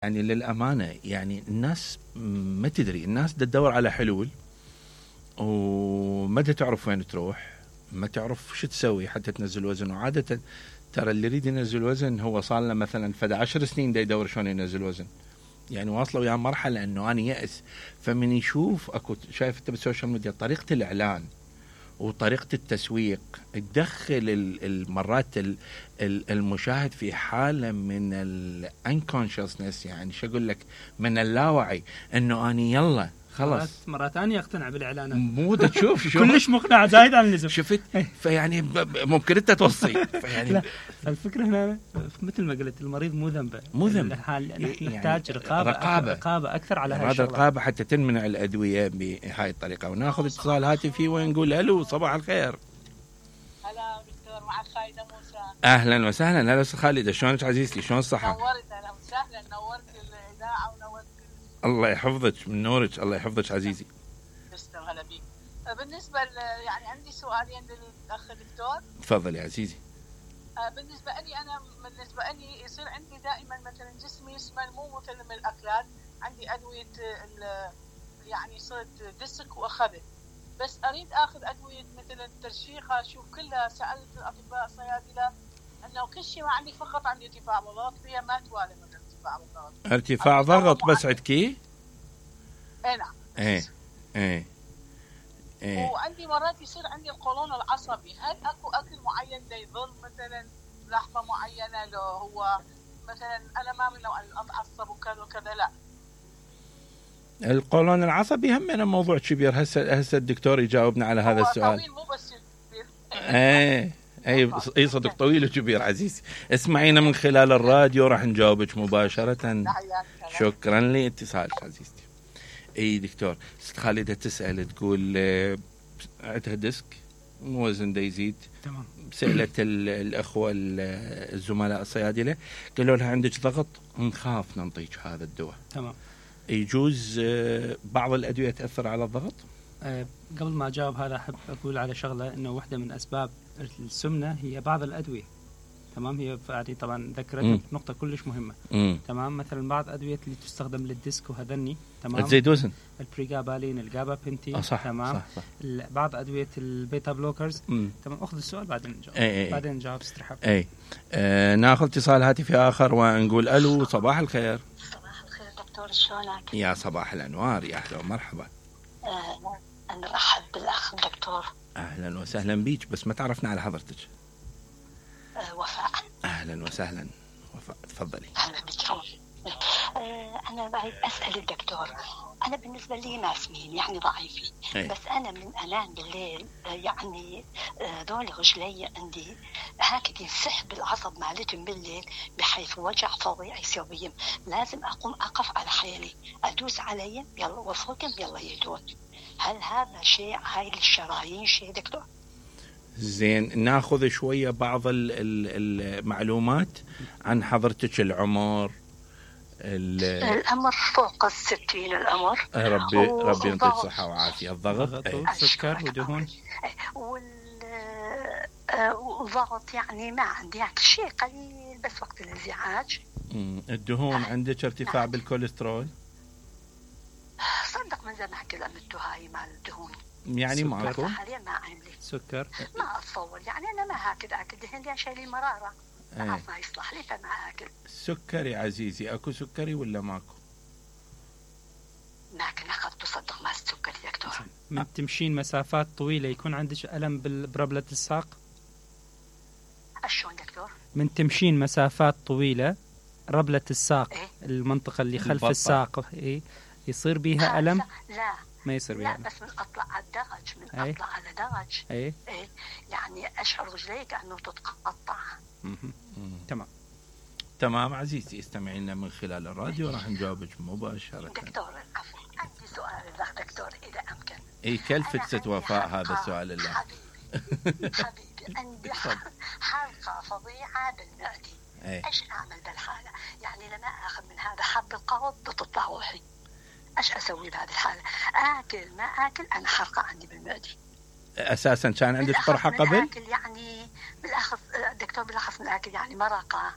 يعني للأمانة يعني الناس ما تدري، الناس تدور على حلول وما تعرف وين تروح، ما تعرف شو تسوي حتى تنزل وزن. وعادة ترى اللي يريد ينزل وزن هو صار له مثلا فدا 10 سنين دا يدور شلون ينزل وزن، يعني واصله ويا مرحلة انه انا يأس. فمن يشوف اكو شايف انت بالسوشيال ميديا طريقة الاعلان وطريقة التسويق تدخل المرات المشاهد في حالة من الانكونشسنس، يعني شو اقول لك، من اللاوعي، انه اني يلا خلاص مرات ثانية اقتنع بالاعلانات، مو تشوف شو كلش مقنع زايد عن اللزوم. شفت؟ فيعني ممكن انت توصي فيعني لا، الفكرة هنا مثل ما قلت المريض مو ذنبه، نحن نحتاج رقابة اكثر على هذا الشغله، رقابة حتى تمنع الادوية بهاي الطريقة. وناخذ اتصال هاتفي ونقول الو صباح الخير. هلا دكتور، معك خالدة موسى. اهلا وسهلا. هلا خالدة، شلونك عزيزتي؟ شلون الصحة؟ نورت، اهلا وسهلا، نورت الاذاعة ونورت. الله يحفظك من نورك، الله يحفظك عزيزي. تسلم، هلا بيك. بالنسبة يعني عندي سؤالين للاخ الدكتور. تفضل يا عزيزي. بالنسبة لي يصير عندي دائما مثلا جسمي يسمن، مو مثل من الاكلات، عندي ادوية يعني صرت دسك واخذت، بس اريد اخذ ادوية مثل الترشيخة، اشوف كلها سألت الاطباء الصيادلة انه كل شيء ما عندي، فقط عندي ارتفاع ضغط، فيها ما توالي من ارتفاع الضغط. ارتفاع ضغط بس عندكي؟ اي نعم. ايه. وعندي مرات يصير عندي القولون العصبي، هل اكو اكل معين دا يضل مثلا لحظة معينة؟ لو هو مثلا انا ما من نوع اتعصب وكذا وكذا، لا. القولون العصبي هم موضوع كبير، هسه الدكتور يجاوبنا على هذا السؤال. طويل مو بس كبير. اي صدق طويل وكبير عزيزي. اسمعينا من خلال الراديو راح نجاوبك مباشرة. شكرا لاتصالك عزيزتي. اي دكتور، ست خالدة تسأل تقول عندها ديسك، وزن دا يزيد. تمام. سألت الأخوة الزملاء الصيادلة قالوا لها عندك ضغط، نخاف ننطيك هذا الدواء. تمام. يجوز بعض الأدوية تأثر على الضغط؟ قبل ما أجاوب هذا أحب أقول على شغلة، إنه واحدة من أسباب السمنة هي بعض الأدوية. تمام. هي يعني طبعا ذكرت نقطة كلش مهمة. تمام. مثلا بعض أدوية اللي تستخدم للديسك وهذني، تمام، تزيد وزن، البريغابالين، الجابابنتين. صح. تمام. صح. بعض أدوية البيتا بلوكرز. تمام. أخذ السؤال بعدين نجاوب. بعدين نجاوب استرحاب. ناخذ اتصال هاتفي آخر ونقول ألو صباح الخير. صباح الخير دكتور، شلونك؟ يا صباح الأنوار، يا أهلا ومرحبا. أنا أرحب بالأخ الدكتور. أهلا وسهلا بيك، بس ما تعرفنا على حضرتك. وفاء. أهلا وسهلا وفاء، تفضلي. أهلا بك. أنا بعد أسأل الدكتور، أنا بالنسبة لي ما سمين يعني ضعيفة، بس أنا من أنام بالليل يعني ذول رجلي عندي هكذا ينسحب العصب مالتهم بالليل، بحيث وجع فظيع يسويهم، لازم أقوم أقف على حيلي أدوس عليهم يلا وفوقهم يلا يدون. هل هذا شيء هاي الشرايين شيء دكتور؟ زين، ناخذ شوية بعض المعلومات عن حضرتك. العمر فوق 60 الأمر. ربي يعطيك صحة وعافية. الضغط سكر ودهون والضغط يعني ما عندي يعني شيء قليل بس وقت الانزعاج. الدهون عندك ارتفاع بالكوليسترول؟ صدق من زمان كذا عملتوا هاي مال الدهون يعني ماكو حاليا ما عندي سكر. ما اتصور يعني انا ما هاكل اكل دهن لان شايلي مراره ما يصلح لي فما اكل. سكري عزيزي، اكو سكري ولا ماكو؟ لكن اخذت تصدق ما السكري دكتور. من تمشين مسافات طويله يكون عندك الم بربله الساق؟ شلون دكتور؟ من تمشين مسافات طويله ربله الساق المنطقه اللي خلف الساق يصير بيها ألم؟ لا ما يصير بيها ألم. بس من أطلع على الدرج أطلع على درج يعني أشعر رجلي كأنه تتقطع. تمام عزيزتي، استمعينا من خلال الراديو راح نجاوبك مباشرة. دكتور عفوا، عندي سؤال لك دكتور إذا أمكن. كلفت ست وفاء هذا السؤال الله. حبيبي عندي حلقة فظيعة بالمعدة. ايش اعمل بالحالة؟ يعني لما اخذ من هذا حب القرض بتطلع روحي، ايش اسوي بهذه الحالة؟ اكل ما اكل انا حرقة عندي بالمعدة. اساسا كان عندك قرحة قبل؟ اكل يعني بالاخص الدكتور بالاخص من اكل يعني مرقة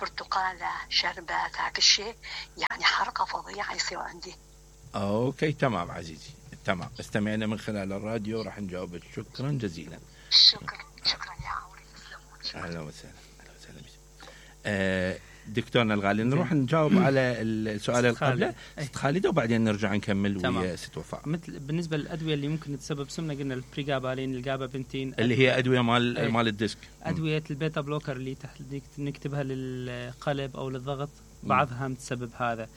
برتقالة شربات هاك الشيء، يعني حرقة فظيعة يصير عندي. اوكي تمام عزيزي، تمام، استمعنا من خلال الراديو راح نجاوبك. شكرا جزيلا. شكرا يا عمري، تسلمون. اهلا وسهلا. دكتورنا الغالي، نروح نجاوب على السؤال اللي قبله ست خالدة وبعدين نرجع نكمل ويا ست وفاء. مثل بالنسبه للادويه اللي ممكن تسبب سمنه، قلنا البريغابالين، الجابابنتين، اللي هي ادويه مال الديسك، ادويه البيتا بلوكر اللي تحت نكتبها للقلب او للضغط، بعضها هم تسبب هذا.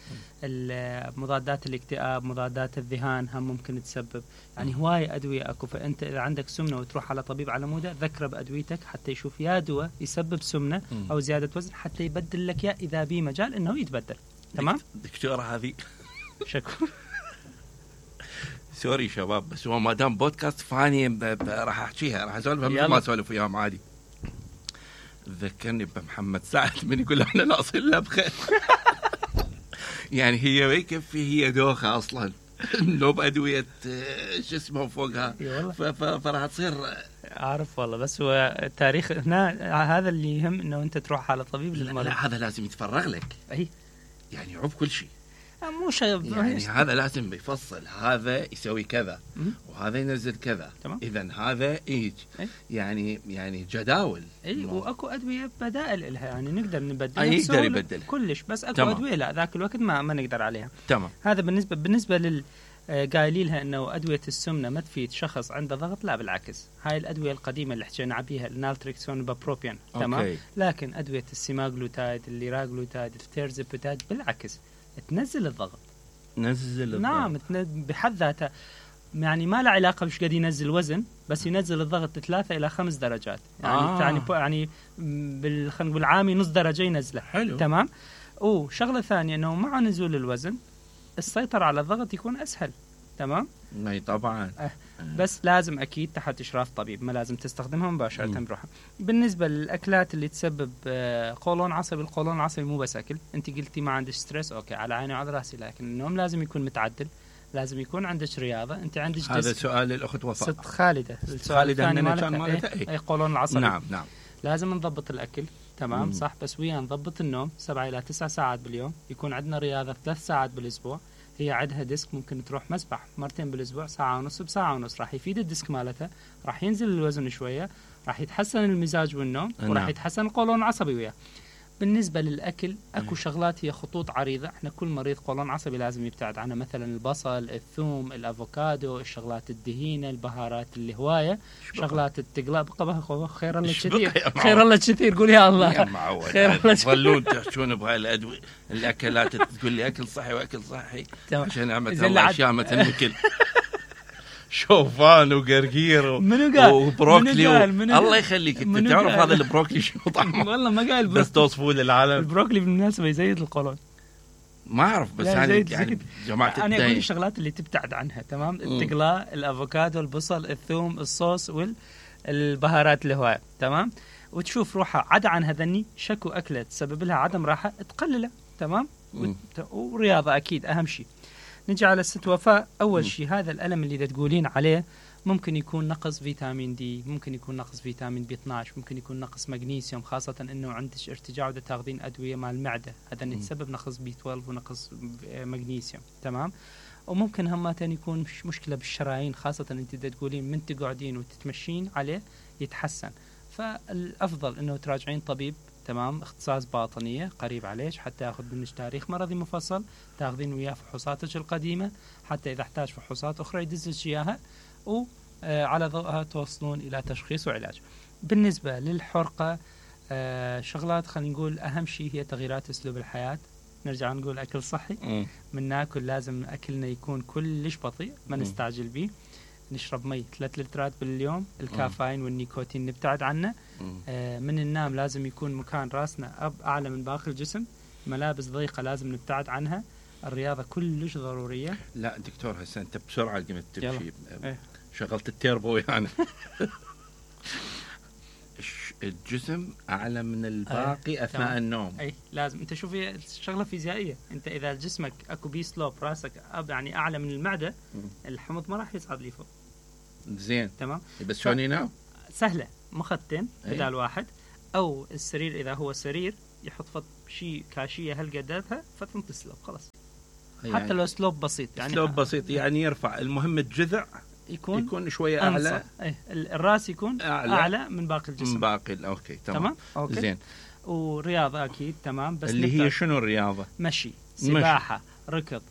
مضادات الاكتئاب، مضادات الذهان هم ممكن تسبب. يعني هواي ادويه اكو. فانت اذا عندك سمنه وتروح على طبيب على موده، ذكره بادويتك حتى يشوف يا دواء يسبب سمنه او زياده وزن حتى يبدل لك يا اذا بي مجال انه يتبدل. تمام دكتوره هذه شكرا. سوري شباب، بس هو ما دام بودكاست فاني راح احكيها، راح اسولفها مثل ما اسولف وياهم عادي. ذكرني بمحمد سعد من يقول احنا ناقصين لبخه. يعني هي ما يكفي، هي دوخه اصلا لو بادويه شو اسمه فوقها، فراح تصير. اعرف والله، بس هو تاريخ هنا هذا اللي يهم، انه انت تروح على طبيب للمرض. لا هذا لازم يتفرغ لك، اي يعني يعوف كل شيء، مو شيء يعني هذا لازم يفصل، هذا يسوي كذا وهذا ينزل كذا، اذا هذا يعني جداول. اي واكو ادويه بدائل لها، يعني نقدر نبدلها، يقدر يبدل كلش، بس اكو ادويه لا ذاك الوقت ما نقدر عليها. تمام. هذا بالنسبه لل قايلين لها انه ادويه السمنه ما تفيد شخص عنده ضغط، لا بالعكس، هاي الادويه القديمه اللي حكينا عليها، النالتريكسون بابروبيان، تمام. لكن ادويه السيماغلوتايد، الليراغلوتايد، التيرزابيتايد بالعكس تنزل الضغط. نعم، بحد ذاتها يعني ما له علاقه بش قد ينزل وزن، بس ينزل الضغط 3 إلى 5 درجات، يعني بالعامي نص درجه ينزله. حلو. تمام. وشغله ثانيه انه مع نزول الوزن السيطره على الضغط يكون اسهل. تمام. اي طبعا. بس لازم اكيد تحت اشراف طبيب، ما لازم تستخدمها مباشره بروحها. بالنسبه للاكلات اللي تسبب قولون عصبي، القولون العصبي مو بس اكل. انت قلتي ما عندك ستريس، اوكي، على عيني وعلى راسي، لكن النوم لازم يكون متعدل، لازم يكون عندك رياضه، انت عندك هذا سؤال الاخت وفاء ست خالده. السؤال الثاني مالتها اي قولون العصبي. نعم. لازم نضبط الاكل، تمام. صح، بس ويا نضبط النوم 7 إلى 9 ساعات باليوم، يكون عندنا رياضه 3 ساعات بالاسبوع. هي عندها ديسك، ممكن تروح مسبح مرتين بالاسبوع، ساعه ونص بساعه ونص، راح يفيد الديسك مالتها، راح ينزل الوزن شويه، راح يتحسن المزاج والنوم، وراح يتحسن القولون العصبي وياه. بالنسبه للاكل اكو شغلات هي خطوط عريضه، احنا كل مريض قولون عصبي لازم يبتعد عنها، مثلا البصل، الثوم، الافوكادو، الشغلات الدهينه، البهارات اللي هوايه، شغلات التقلاب. خير الله كثير، خير الله كثير، قول يا الله خير الله. ظلون تحشون بهاي الادويه الاكلات، تقول لي اكل صحي واكل صحي عشان نعمه الله اشياء مثل مثل شوفان وقرقير وبروكلي الله يخليك. انت تعرف هذا البروكلي شنو طعمه؟ والله ما قايل، بس توصفوه للعالم. البروكلي بالمناسبه يزيد القولون، ما اعرف، بس يعني جماعه انا اقول الشغلات اللي تبتعد عنها، تمام. التقلاء، الافوكادو، البصل، الثوم، الصوص والبهارات الهوايه، تمام. وتشوف روحها عدا عن هذني شكو اكله تسبب لها عدم راحه تقلله، تمام. ورياضه اكيد اهم شيء. نجي على الست وفاء. أول شيء هذا الألم اللي تقولين عليه ممكن يكون نقص فيتامين دي، ممكن يكون نقص فيتامين بي 12، ممكن يكون نقص مغنيسيوم، خاصة أنه عندك ارتجاع وده تاخذين أدوية مع المعدة، هذا يتسبب نقص بي 12 ونقص مغنيسيوم، تمام. وممكن همتين يكون مشكلة بالشرايين، خاصة أنت تقولين من تقعدين وتتمشين عليه يتحسن. فالأفضل أنه تراجعين طبيب، تمام، اختصاص باطنية قريب عليك، حتى ياخذ منك تاريخ مرضي مفصل، تاخذين وياه فحوصاتك القديمة، حتى إذا احتاج فحوصات أخرى يدزلك إياها، وعلى ضوءها توصلون إلى تشخيص وعلاج. بالنسبة للحرقة، شغلات خلينا نقول أهم شيء هي تغييرات أسلوب الحياة. نرجع نقول أكل صحي، من ناكل لازم أكلنا يكون كلش بطيء، ما نستعجل به. نشرب مي 3 لترات باليوم، الكافيين والنيكوتين نبتعد عنه. من النوم لازم يكون مكان راسنا أعلى من باقي الجسم. ملابس ضيقة لازم نبتعد عنها. الرياضة كلش ضرورية. لا دكتور هسه أنت بسرعة قمت تمشي، شغلت التيربو يعني. الجسم أعلى من الباقي أثناء النوم. أي لازم. أنت شوفي شغلة فيزيائية، أنت إذا جسمك أكو بي سلوب، راسك يعني أعلى من المعدة، الحمض ما راح يصعد لي فوق. زين، تمام. بس شلون ينام؟ سهلة، مخدتين بدال واحد، أو السرير إذا هو سرير يحط فط شيء كاشيه هالقدرها فتنتسلب خلاص يعني حتى لو سلوب بسيط يعني سلوب بسيط يعني يرفع المهم الجذع يكون شويه اعلى. الراس يكون اعلى من باقي الجسم. من باقي اوكي تمام. أوكي. زين. ورياضه اكيد تمام بس اللي هي شنو الرياضه؟ مشي، سباحه، ركض،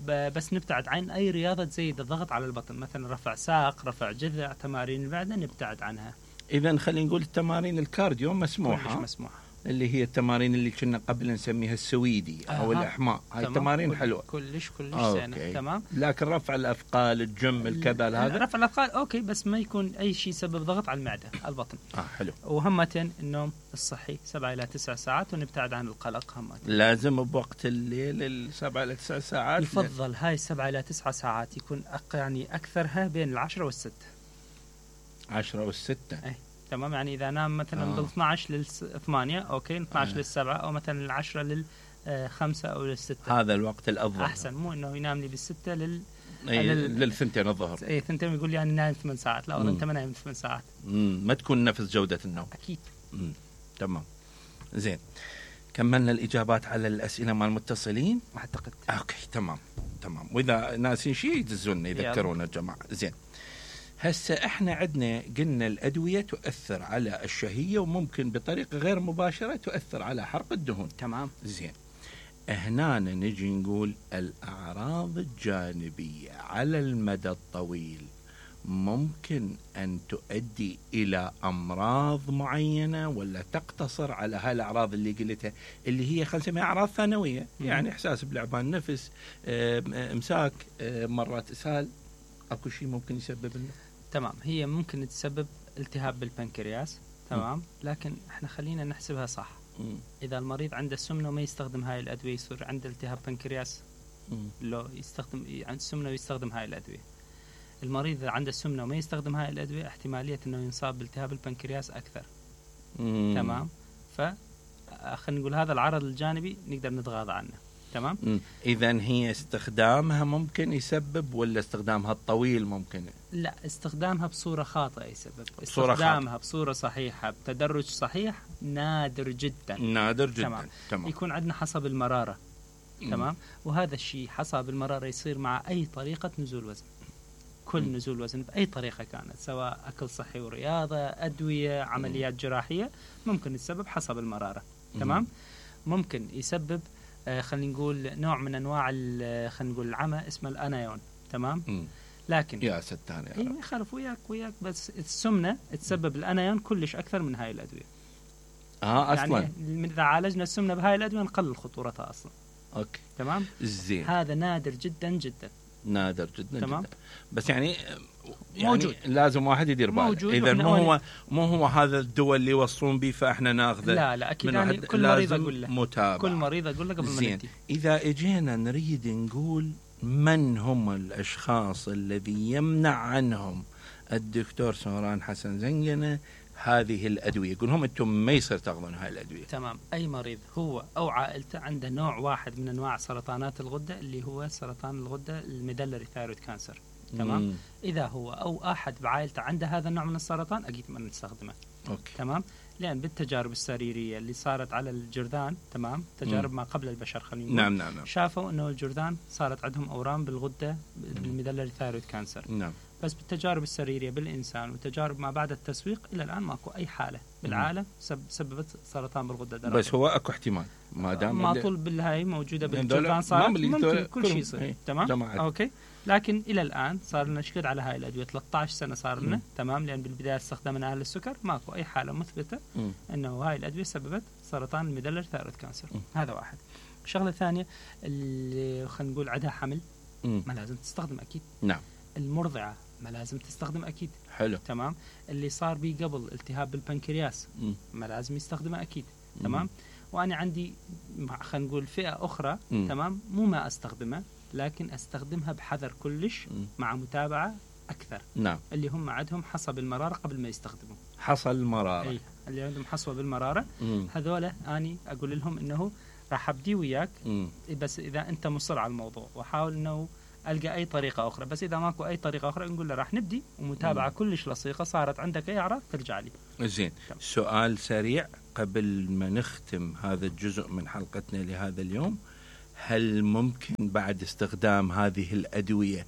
بس نبتعد عن اي رياضه تزيد الضغط على البطن، مثلا رفع ساق، رفع جذع، تمارين بعدها نبتعد عنها. اذا خلينا نقول التمارين الكارديو مسموحه. كلش مسموحه. اللي هي التمارين اللي كنا قبل نسميها السويدي او الاحماء، هاي التمارين حلوه كلش زينه. تمام. لكن رفع الاثقال، الجيم، الكذا، هذا رفع الاثقال اوكي بس ما يكون اي شيء يسبب ضغط على المعده، على البطن. حلو. وهمة النوم الصحي 7 إلى 9 ساعات ونبتعد عن القلق. لازم بوقت الليل 7 إلى 9 ساعات. يفضل هاي 7 إلى 9 ساعات يكون يعني اكثرها بين 10 والستة. 10 و6 اي تمام. يعني اذا نام مثلا من 12 لل 8 اوكي، 12 لل 7 او مثلا من 10 لل 5 او لل 6 هذا الوقت الافضل. احسن، مو انه ينام لي بالستة للثنتين الظهر. اي ثنتين يقول لي انا نايم 8 ساعات، لا والله انت ما نايم 8 ساعات. ما تكون نفس جودة النوم. اكيد. تمام. زين، كملنا الاجابات على الاسئله مع المتصلين اعتقد. اوكي تمام. واذا ناسين شيء يدزونا يذكرونا الجماعه. زين، هسه احنا عندنا قلنا الادويه تؤثر على الشهيه وممكن بطريقه غير مباشره تؤثر على حرق الدهون. تمام. زين، هنا نجي نقول الاعراض الجانبيه على المدى الطويل ممكن ان تؤدي الى امراض معينه ولا تقتصر على هالاعراض اللي قلتها اللي هي خلينا نسميها اعراض ثانويه؟ يعني احساس بلعبان نفس، امساك، مرات اسهال، اكو شيء ممكن يسبب لنا؟ تمام. هي ممكن تسبب التهاب بالبنكرياس. تمام. لكن احنا خلينا نحسبها صح. اذا المريض عنده سمنه وما يستخدم هاي الادويه يصير عنده التهاب بنكرياس. لو يستخدم عند سمنه ويستخدم هاي الادويه. المريض اذا عنده سمنه وما يستخدم هاي الادويه احتماليه انه ينصاب بالتهاب البنكرياس اكثر. تمام. خلينا نقول هذا العرض الجانبي نقدر نتغاضى عنه. تمام. اذا هي استخدامها ممكن يسبب ولا استخدامها الطويل ممكن؟ لا، استخدامها بصوره خاطئه يسبب. استخدامها بصوره صحيحه بتدرج صحيح نادر جدا. تمام. يكون عندنا حصى بالمراره. تمام. وهذا الشيء حصى بالمراره يصير مع اي طريقه نزول وزن. كل نزول وزن بأي طريقة كانت، سواء أكل صحي ورياضة، أدوية، عمليات جراحية، ممكن يسبب حصى بالمرارة. تمام. ممكن يسبب خلينا نقول نوع من أنواع خلينا نقول العمى اسمه الأنايون. تمام. لكن يا ستان يا ما يخالف وياك بس السمنة تسبب الأنايون كلش أكثر من هاي الأدوية. أصلا يعني إذا عالجنا السمنة بهاي الأدوية نقلل خطورتها أصلا. أوكي. تمام. زين. هذا نادر جدا جدا. نادر جدا. تمام. جدا. بس يعني موجود. لازم واحد يدير باله. اذا مو هو هذا الدواء اللي يوصلون به فاحنا ناخذه. لا اكيد. يعني كل مريض اقول له متابعة. كل مريض اقول له قبل ما نبدي. اذا اجينا نريد نقول من هم الاشخاص الذي يمنع عنهم الدكتور سمران حسن زنقنة هذه الادويه، يقول لهم انتم ما يصير تاخذون هاي الادويه. تمام. اي مريض هو او عائلته عنده نوع واحد من انواع سرطانات الغده اللي هو سرطان الغده الميدلري ثايرويد كانسر. تمام. اذا هو او احد بعائلته عنده هذا النوع من السرطان اكيد ما نستخدمه. اوكي. تمام. لان بالتجارب السريريه اللي صارت على الجرذان، تمام، تجارب ما قبل البشر خلينا نقول، نعم. شافوا انه الجرذان صارت عندهم اورام بالغده بالميدلري ثايرويد كانسر. نعم. بس بالتجارب السريريه بالانسان وتجارب ما بعد التسويق الى الان ماكو اي حاله بالعالم سببت سرطان بالغده الدرقيه. بس هو اكو احتمال ما دام ما طول بالهاي موجوده بالجرذان صار ممكن كل شيء يصير. تمام. اوكي. لكن الى الان صار لنا شكد على هاي الادويه 13 سنه صار لنا. تمام. لان بالبدايه استخدمنا اهل السكر ماكو اي حاله مثبته انه هاي الادويه سببت سرطان الميدلري ثايرويد كانسر. هذا واحد. الشغله الثانيه اللي خلينا نقول عندها حمل ما لازم تستخدم اكيد. نعم. المرضعه ما لازم تستخدم اكيد. حلو. تمام. اللي صار بيه قبل التهاب بالبنكرياس ما لازم يستخدمه اكيد. تمام. وانا عندي خلينا نقول فئه اخرى. تمام. مو ما استخدمها لكن استخدمها بحذر كلش مع متابعه اكثر. نعم. اللي هم عندهم حصى بالمراره قبل ما يستخدموا حصى المراره. اي اللي عندهم حصوه بالمراره هذولا اني اقول لهم انه راح ابدي وياك بس اذا انت مصر على الموضوع، واحاول انه القى اي طريقه اخرى. بس اذا ماكو اي طريقه اخرى نقول له راح نبدي ومتابعه كلش لصيقه، صارت عندك اي اعراض ترجع لي. زين، سؤال سريع قبل ما نختم هذا الجزء من حلقتنا لهذا اليوم، هل ممكن بعد استخدام هذه الأدوية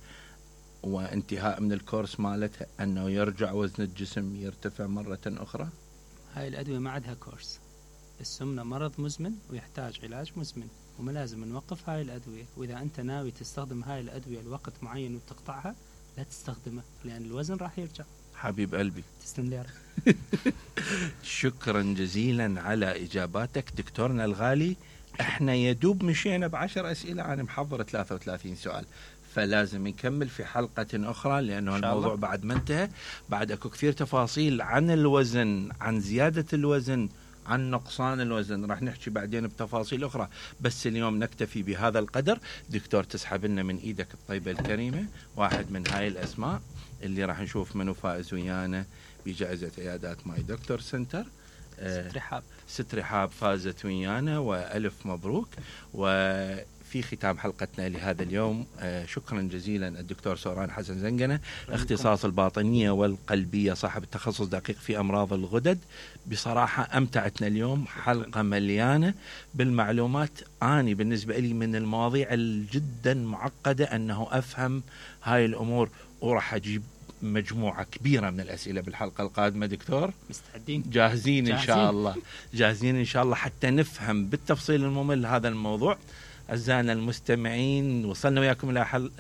وانتهاء من الكورس مالتها أنه يرجع وزن الجسم يرتفع مرة أخرى؟ هاي الأدوية ما عندها كورس. السمنة مرض مزمن ويحتاج علاج مزمن، وما لازم نوقف هاي الأدوية. وإذا أنت ناوي تستخدم هاي الأدوية لوقت معين وتقطعها لا تستخدمها، لأن الوزن راح يرجع. حبيب قلبي تسلم لي. شكرا جزيلا على إجاباتك دكتورنا الغالي. احنا يدوب مشينا ب10 أسئلة، أنا محضر 33 سؤال، فلازم نكمل في حلقة أخرى لأنه الموضوع بعد ما انتهى. بعد أكو كثير تفاصيل عن الوزن، عن زيادة الوزن، عن نقصان الوزن، راح نحكي بعدين بتفاصيل أخرى، بس اليوم نكتفي بهذا القدر. دكتور تسحب لنا من إيدك الطيبة الكريمة واحد من هاي الأسماء اللي راح نشوف منو فائز ويانا بجائزة عيادات ماي دكتور سنتر. ست رحاب فازت ويانا وألف مبروك. وفي ختام حلقتنا لهذا اليوم شكرا جزيلا الدكتور سوران حسن زنقنة، اختصاص الباطنية والقلبية، صاحب التخصص دقيق في أمراض الغدد. بصراحة أمتعتنا اليوم، حلقة مليانة بالمعلومات. أنا بالنسبة لي من المواضيع الجدا معقدة أنه أفهم هاي الأمور، وراح أجيب مجموعة كبيرة من الأسئلة بالحلقة القادمة. دكتور مستعدين؟ جاهزين إن شاء الله، جاهزين إن شاء الله حتى نفهم بالتفصيل الممل هذا الموضوع. أعزائنا المستمعين، وصلنا وياكم إلى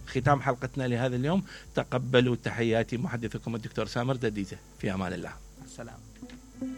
ختام حلقتنا لهذا اليوم. تقبلوا تحياتي محدثكم الدكتور سامر دديزة، في أمان الله. السلام.